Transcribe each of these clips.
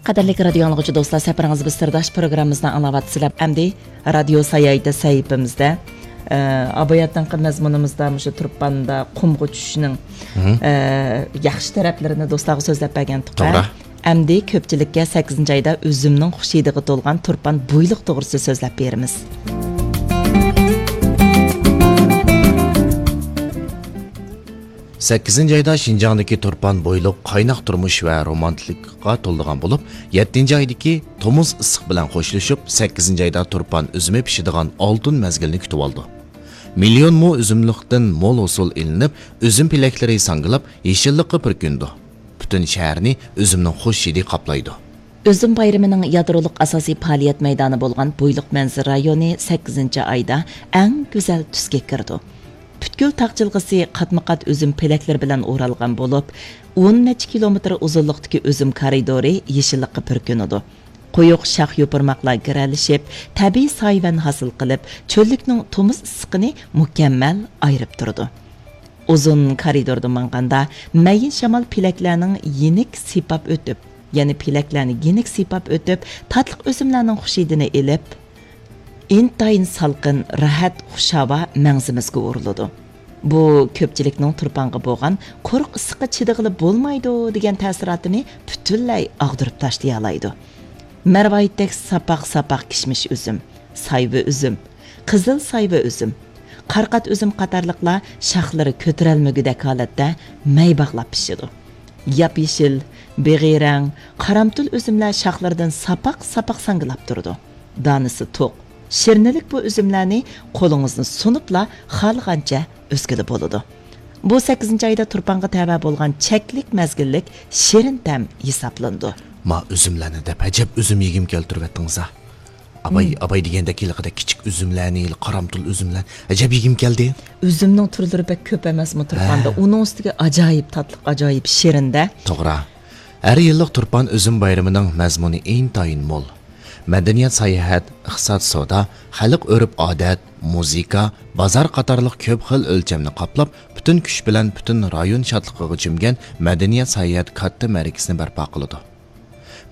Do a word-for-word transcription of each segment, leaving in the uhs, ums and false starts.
قەدىرلىك رادىيو ئاڭلىغۇچى دوستلار، سەپىرىڭىز بىز سىرداش پروگراممىمىزنى ئاڭلاۋاتىسىلەر. ئەمدى رادىيو ساياھىتى سەھىپىمىزدە، ئە، ئاباياتىنقى مەزمۇنىمىزدا مۇشۇ تۇرپاندا قۇمغا چۈشۈشنىڭ، مھم. ئە، ياخشى تەرەپلىرىنى دوستلارغا سۆزلەپ بەرگەنتۇق. توغرا. ئەمدى كۆپچىلىككە سەككىزىنچى ئايدا ئۈزۈمنىڭ خۇش ھىدىغا تولغان تۇرپان بويلۇق توغرىسىدا سۆزلەپ بېرىمىز. سەككىزىنچى ئايدا شىنجاڭدىكى تۇرپان بويلۇق قايناق تۇرمۇش ۋە رومانتىكىغا تولىدىغان بولۇپ، يەتتىنچى ئايدىكى تومۇز ئىسسىق بىلەن خوشلىشىپ، سەككىزىنچى ئايدا تۇرپان ئۈزۈمى پىشىدىغان ئالتۇن مەزگىلنى كۈتۈۋالىدۇ. مىليون مو ئۈزۈملۈكتىن مول ھوسۇل ئېلىنىپ، ئۈزۈم پېلەكلىرى ساڭگىلاپ، يېشىللىققا پۈركىنىدۇ. پۈتۈن شەھەرنى ئۈزۈمنىڭ خۇش ھىدى قاپلايدۇ. ئۈزۈم بايرىمىنىڭ يادرولۇق ئاساسىي پائالىيەت مەيدانى بولغان بويلۇق مەنزىرە رايونى سەككىزىنچى ئايدا ئەڭ گۈزەل تۈسكە كىرىدۇ. پۈتكۈل تاغ جىلغىسى قاتمۇ قات ئۈزۈم پېلەكلىرى بىلەن ئورالغان بولۇپ، ئون نەچچە كىلومېتىر ئۇزۇنلۇقتىكى ئۈزۈم كارىدورى يېشىللىققا پۈركىنىدۇ. قويۇق شاخ يوپۇرماقلار گىرەلىشىپ، تەبىئىي سايىۋەن ھاسىل قىلىپ، چۆللۈكنىڭ تومۇز ئىسسىقىنى مۇكەممەل ئايرىپ تۇرىدۇ. ئۇزۇن كارىدوردا ماڭغاندا، مەيىن شامال پېلەكلەرنىڭ يېنىك سىيپاپ ئۆتۈپ، يەنى پېلەكلەرنى يېنىك سىيپاپ ئۆتۈپ، تاتلىق ئۈزۈملەرنىڭ خۇش ھىدىنى ئېلىپ، ئىنتايىن سالقىن، راھەت، خۇش ھاۋا مەڭزىمىزگە ئۇرۇلىدۇ. بۇ كۆپچىلىكنىڭ تۇرپانغا بولغان قۇرۇق ئىسسىققا چىدىغىلى بولمايدۇ دېگەن تەسىراتىنى پۈتۈنلەي ئاغدۇرۇپ تاشلىيالايدۇ. مەرۋايىتتەك ساپاق-ساپاق كىشمىش ئۈزۈم، سايۋا ئۈزۈم، قىزىل سايۋا ئۈزۈم، قارقات ئۈزۈم قاتارلىقلار شاخلىرى كۆتۈرەلمىگۈدەك ھالەتتە مەي باغلاپ پىشىدۇ. ياپيېشىل، بېغىي رەڭ، قارامتۇل ئۈزۈملەر شاخلىرىدىن ساپاق-ساپاق ساڭگىلاپ تۇرىدۇ. دانىسى توق، شىرنىلىك بۇ ئۈزۈملەرنى قولىڭىزنى سۇنۇپلا خالىغانچە ئۈزگىلى بولىدۇ. بۇ سەككىزىنچى ئايدا تۇرپانغا تەۋە بولغان چەكلىك مەزگىللىك شېرىن تەم ھېسابلىنىدۇ. ما ئۈزۈملەرنى دەپ، ئەجەب ئۈزۈم يېگۈم كەلتۈرۈۋەتتىڭىز ھە. ئاباي، مم. ئاباي دېگەندەك ھېلىقىدەك كىچىك ئۈزۈملەرنى، ھېلى قارامتۇل ئۈزۈملەر. ئەجەب يېگۈم كەلدى. ئۈزۈمنىڭ تۈرلىرى بەك كۆپ ئەمەسمۇ تۇرپاندا؟ ھە. ئۇنىڭ ئۈستىگە ئاجايىپ تاتلىق، ئاجايىپ شېرىن-دە. توغرا. ھەر يىللىق تۇرپان ئۈزۈم بايرىمىنىڭ مەزمۇنى ئىنتايىن مول. مەدەنىيەت، ساياھەت، ئىقتىساد، سودا، خەلق ئۆرپ-ئادەت، مۇزىكا، بازار قاتارلىق كۆپ خىل ئۆلچەمنى قاپلاپ، پۈتۈن كۈچ بىلەن پۈتۈن رايون شادلىقىغا چۆمگەن مەدەنىيەت، ساياھەت كاتتا مەرىكىسىنى بەرپا قىلىدۇ.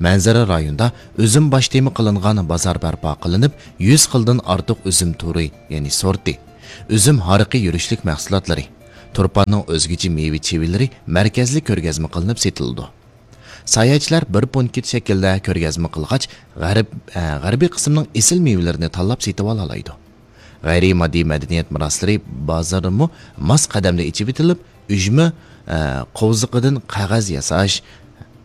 مەنزىرە رايونىدا ئۈزۈم باش تېما قىلىنغان بازار بەرپا قىلىنىپ، يۈز خىلدىن ئارتۇق ئۈزۈم تۈرى، يەنى سورتى، ئۈزۈم ھارىقى يۈرۈشلۈك مەھسۇلاتلىرى، تۇرپاننىڭ ئۆزگىچە مېۋە-چېۋىلىرى مەركەزلىك كۆرگەزمە قىلىنىپ سېتىلىدۇ. ساياھەتچىلەر بىر پونكىت شەكلىدە كۆرگەزمە قىلغاچ، غەرب-، ئە، غەربىي قىسىمنىڭ ئېسىل مېۋىلىرىنى تاللاپ سېتىۋالالايدۇ. غەيرىي ماددىي مەدەنىيەت مىراسلىرى بازىرىمۇ ماس قەدەمدە ئېچىۋېتىلىپ، ئۈجمە، ئە، قوۋزىقىدىن قەغەز ياساش،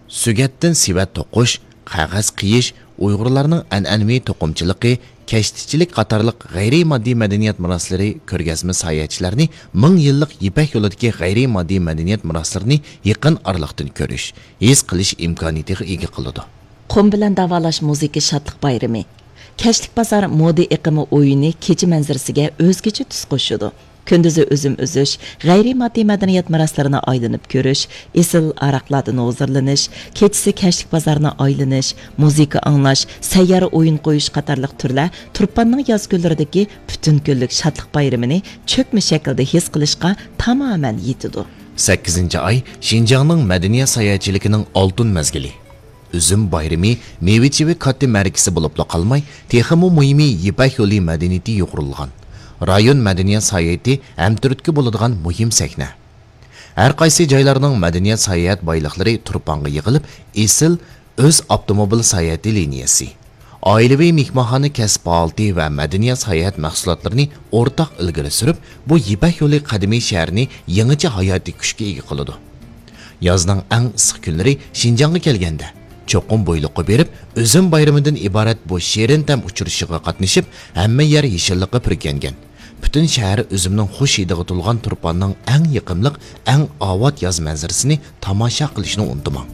سۆگەتتىن سېۋەت توقۇش، قەغەز قىيىش، ئۇيغۇرلارنىڭ ئەنئەنىۋى توقۇمىچىلىقى، كەشتىچىلىك قاتارلىق غەيرىي ماددىي مەدەنىيەت مىراسلىرى كۆرگەزمە ساياھەتچىلەرنى مىڭ يىللىق يىپەك يولىدىكى غەيرىي ماددىي مەدەنىيەت مىراسلىرىنى يېقىن ئارىلىقتىن كۆرۈش، ھېس قىلىش ئىمكانىيىتىغا ئىگە قىلىدۇ. قۇم بىلەن داۋالاش مۇزىكا شادلىق بايرىمى. كەچلىك بازار مودا ئېقىمى ئويۇنى كېچە مەنزىرىسىگە ئۆزگىچە تۈس قوشىدۇ. كۈندۈزى ئۈزۈم ئۈزۈش، غەيرىي ماددىي مەدەنىيەت مىراسلىرىنى ئايلىنىپ كۆرۈش، ئېسىل ئاراقلاردىن ھۇزۇرلىنىش، كېچىسى كەچلىك بازارنى ئايلىنىش، مۇزىكا ئاڭلاش، سەييارە ئويۇن قويۇش قاتارلىق تۈرلەر تۇرپاننىڭ ياز كۈنلىرىدىكى پۈتۈن كۈنلۈك شادلىق بايرىمىنى چۆكمە شەكىلدە ھېس قىلىشقا تامامەن يېتىدۇ. سەككىزىنچى ئاي شىنجاڭنىڭ مەدەنىيەت ساياھەتچىلىكىنىڭ ئالتۇن مەزگىلى. ئۈزۈم بايرىمى مېۋە-چېۋە كاتتا مەرىكىسى بولۇپلا قالماي، تېخىمۇ مۇھىمى يىپەك يولى مەدەنىيىتى يۇغۇرۇلغان رايون مەدەنىيەت ساياھىتى ھەمتۈرتكە بولىدىغان مۇھىم سەھنە. ھەر قايسى جايلارنىڭ مەدەنىيەت ساياھەت بايلىقلىرى تۇرپانغا يىغىلىپ، ئېسىل ئۆز ئاپتوموبىل ساياھىتى لىنىيەسى، ئائىلىۋى مېھمانخانا كەسىپ پائالىيىتى ۋە مەدەنىيەت ساياھەت مەھسۇلاتلىرىنى ئورتاق ئىلگىرى سۈرۈپ، بۇ يىپەك يولى قەدىمىي شەھىرىنى يېڭىچە ھاياتىي كۈچكە ئىگە قىلىدۇ. يازنىڭ ئەڭ ئىسسىق كۈنلىرى شىنجاڭغا كەلگەندە، چوقۇم بويلۇققا بېرىپ، ئۈزۈم بايرىمىدىن ئىبارەت بۇ شېرىن تەم ئۇچرىشىشىغا قاتنىشىپ، ھەممە يەر يېشىللىققا پۈركەنگەن. پۈتۈن شەھەر ئۈزۈمنىڭ خۇش ھىدىغا تولغان تۇرپاننىڭ ئەڭ يېقىملىق، ئەڭ ئاۋات ياز مەنزىرىسىنى تاماشا قىلىشنى ئۇنتۇماڭ.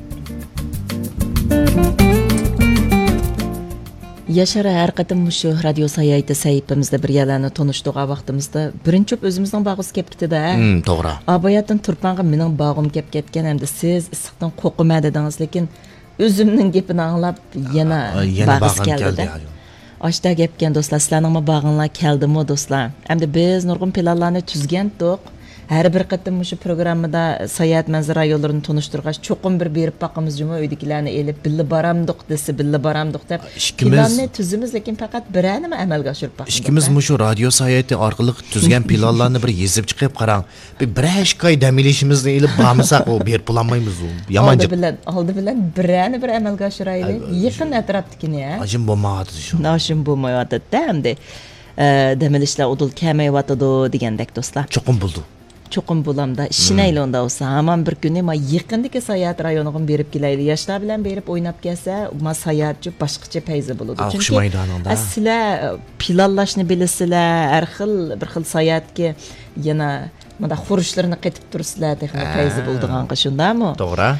ياشار، ھەر قېتىم مۇشۇ رادىيو ساياھىتى سەھىپىمىزدە بىر يەرلەرنى تونۇشتۇرغان ۋاقتىمىزدا، بىرىنچى بولۇپ ئۆزىمىزنىڭ باغىسى كەپ كېتىدۇ-ھە. ھىم، توغرا. ئاباياتىن تۇرپانغا مېنىڭ باغۇم كەپ كەتكەن ھەمدە سىز ئىسسىقتىن قورقىمەن دېدىڭىز، لېكىن ئۈزۈمنىڭ گېپىنى ئاڭلاپ يەنە، ئا، يەنە باغىسى باغىم كەلدى. كەلدى، ھايو. ئاشتا گەپكەن دوستلار، سىلەرنىڭمۇ باغىڭلار كەلدىمۇ دوستلار؟ ئەمدى بىز نۇرغۇن پىلانلارنى تۈزگەنتۇق. ھەر بىر قېتىم مۇشۇ پروگراممىدا ساياھەت مەنزىرە رايونلىرىنى تونۇشتۇرغاچ، چوقۇم بىر بېرىپ باقىمىز جۇمۇ، ئۆيدىكىلەرنى ئېلىپ، بىللە بارامدۇق دېسە، بىللە بارامدۇق دەپ، ئىككىمىز پىلاننى تۈزىمىز، لېكىن پەقەت بىرەرنىمۇ ئەمەلگە ئاشۇرۇپ باقمىدۇق، ئىككىمىز ھە؟ مۇشۇ رادىيو ساياھىتى ئارقىلىق تۈزگەن پىلانلارنى بىر يېزىپ چىقىپ قاراڭ. بىر، بىرەر ئىككى ئاي دەم ئېلىشىمىزنى ئېلىپ بارمىساق، ئۇ بېرىپ بولالمايمىز، ئۇ يامان ئالدى جاپ. بىلەن، ئالدى بىلەن بىرەرنى بىر ئەمەلگە ئاشۇرايلى. ئەل-، يېقىن ئەتراپتىكىنى، ھە؟ ئاشۇم بولمايۋاتىدۇ شۇ. ئاشۇم بولمايۋاتىدۇ-دە ئەمدى. ئە، دەم ئېلىشلار ئۇدۇل كەلمەيۋاتىدۇ دېگەندەك، دوستلار. چوقۇم بولىدۇ. چوقۇم بولامدا، ئىشىنەيلى ئۇندا بولسا. ھامان بىر كۈنى ما يېقىندىكى ساياھەت رايونىغىمۇ بېرىپ كېلەيلى. ياشلار بىلەن بېرىپ ئويناپ كەلسە، ما ساياھەتچۇ باشقىچە پەيزى بولىدۇ. ئا، چۈنكى، ئوخشىمايدۇ ئانىڭدا. ئە، سىلەر پىلانلاشنى بىلىسىلەر، ھەر خىل، بىر خىل ساياھەتكە يەنە مۇنداق خۇرۇچلىرىنى قېتىپ تۇرسىلەر، تېخىمۇ پەيزى بولىدىغانغا، شۇنداقمۇ؟ توغرا.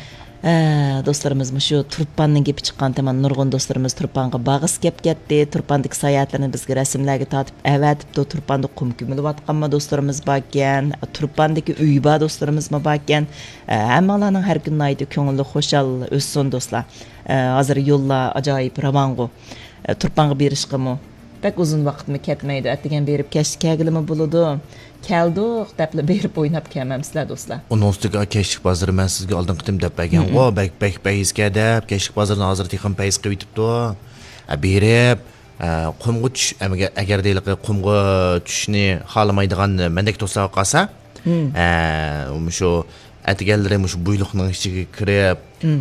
ئە، دوستلىرىمىز مۇشۇ تۇرپاننىڭ گېپى چىققانتىمان، نۇرغۇن دوستلىرىمىز تۇرپانغا باغىسى كەپ كەتتى. تۇرپاندىكى ساياھەتلىرىنى بىزگە رەسىملەرگە تارتىپ ئەۋەتىپتۇ. تۇرپاندا قۇم كۆمۈلۈۋاتقانمۇ دوستلىرىمىز باركەن. تۇرپاندىكى ئۆيى بار دوستلىرىمىزمۇ باركەن. ئە، ھەممىڭلارنىڭ ھەر كۈنى ناھايىتى كۆڭلى خۇشال ئۆتسۇن، دوستلار. ئە، ھازىر يوللار ئاجايىپ راۋانغۇ. ئە، تۇرپانغا بېرىشقىمۇ بەك ئۇزۇن ۋاقىتمۇ كەتمەيدۇ. ئەتىگەن بېرىپ كەچتە كەلگىلىمۇ بولىدۇ. كەلدۇق دەپلا بېرىپ ئويناپ كەلمەمسىلەر، دوستلار. ئۇنىڭ ئۈستىگە كەچلىك بازىرى مەن سىزگە ئالدىنقى قېتىم دەپ بەرگەنغۇ، بەك، بەك پەيزكەن دەپ، كەچلىك بازىرىنى ھازىر تېخىمۇ پەيز قىلىۋېتىپتۇ. ئە، بېرىپ، ئە، قۇمغا چۈش، ئەمگە-، ئەگەردە ھېلىقى قۇمغا چۈشۈشنى خالىمايدىغان مەندەك دوستلارغا قالسا، ئە، مۇشۇ ئەتىگەنلىرى مۇشۇ بۇيلۇقنىڭ ئىچىگە كىرىپ،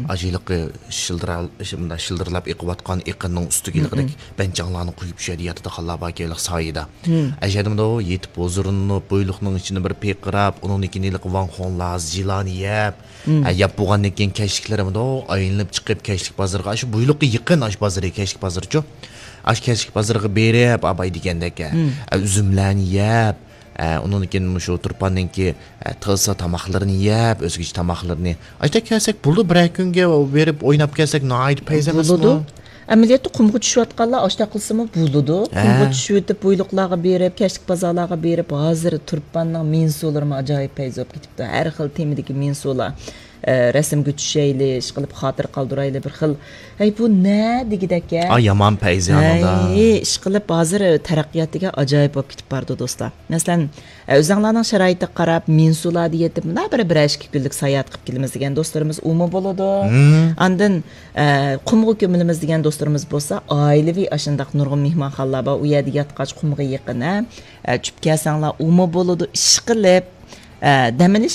ئاشۇ ھېلىقى شىلدىرا-، شۇ-، مۇنداق شىلدىرلاپ ئېقىۋاتقان ئېقىننىڭ ئۈستىگە ھېلىقىدەك بەنجاڭلارنى قويۇپ، شۇ يەردە ياتىدىغانلار باركەن، ھېلىقى سايىدا. ئەشەدىمۇ يېتىپ ھۇزۇرلىنىپ، بۇيلۇقنىڭ ئىچىنى بىر پىرقىراپ، ئۇنىڭدىن كېيىن ھېلىقى ۋاڭخۇڭلار، زىلانى يەپ، ھە، يەپ بولغاندىن كېيىن كەچلىكلىرىمۇ ئايلىنىپ چىقىپ، كەچلىك بازىرىغا، ئاشۇ بۇيلۇققا يېقىن ئاشۇ بازىرى، كەچلىك بازىرىچۇ. ئاشۇ كەچلىك بازىرىغا بېرىپ، ئاباي دېگەندەك، ھە، ئۈزۈملەرنى يەپ، ئە، ئۇنىڭدىن كېيىن مۇشۇ تۇرپاننىڭكى، ئە، تىلسا تاماقلىرىنى يەپ، ئۆزگىچە تاماقلىرىنى. ئاشۇنداق كەلسەك بولىدۇ، بىرەر كۈنگە بېرىپ ئويناپ كەلسەك ناھايىتى پەيز ئەمەسمۇ؟ بولىدۇ. ئەمەلىيەتتە قۇمغا چۈشۈۋاتقانلار ئاشۇنداق قىلسىمۇ بولىدۇ. ھە. قۇمغا چۈشۈۋېتىپ، بۇيلۇقلارغا بېرىپ، كەچلىك بازارلارغا بېرىپ، ھازىر تۇرپاننىڭ مىنسۇلىرىمۇ ئاجايىپ پەيز بولۇپ كېتىپتۇ. ھەر خىل تېمىدىكى مىنسۇلار. ئە، رەسىمگە چۈشەيلى، ئىشقىلىپ خاتىرە قالدۇرايلى بىر خىل. ھەي، بۇ نە دېگۈدەك-ە. ئا، يامان پەيزى ئانىڭدا. ھەي، ئىشقىلىپ ھازىر تەرەققىيات دېگەن ئاجايىپ بولۇپ كېتىپ بارىدۇ، دوستلار. مەسىلەن، ئە، ئۆزۈڭلارنىڭ شارائىتىغا قاراپ، مىنسۇلاردا يېتىپ، مۇنداق بىر، بىرەر ئىككى كۈنلۈك ساياھەت قىلىپ كېلىمىز دېگەن دوستلىرىمىز ئۇمۇ بولىدۇ. ئاندىن، ئە، قۇمغا كۆمۈلىمىز دېگەن دوستلىرىمىز بولسا، ئائىلىۋى ئاشۇنداق نۇرغۇن مېھمانخانىلار بار، ئۇ يەردە ياتقاچ قۇمغا يېقىن، ھە. ئە، چۈشۈپ كەلسەڭلار ئۇمۇ بولىدۇ، ئىشقىلىپ، ئە، دەم ئېلىشىڭ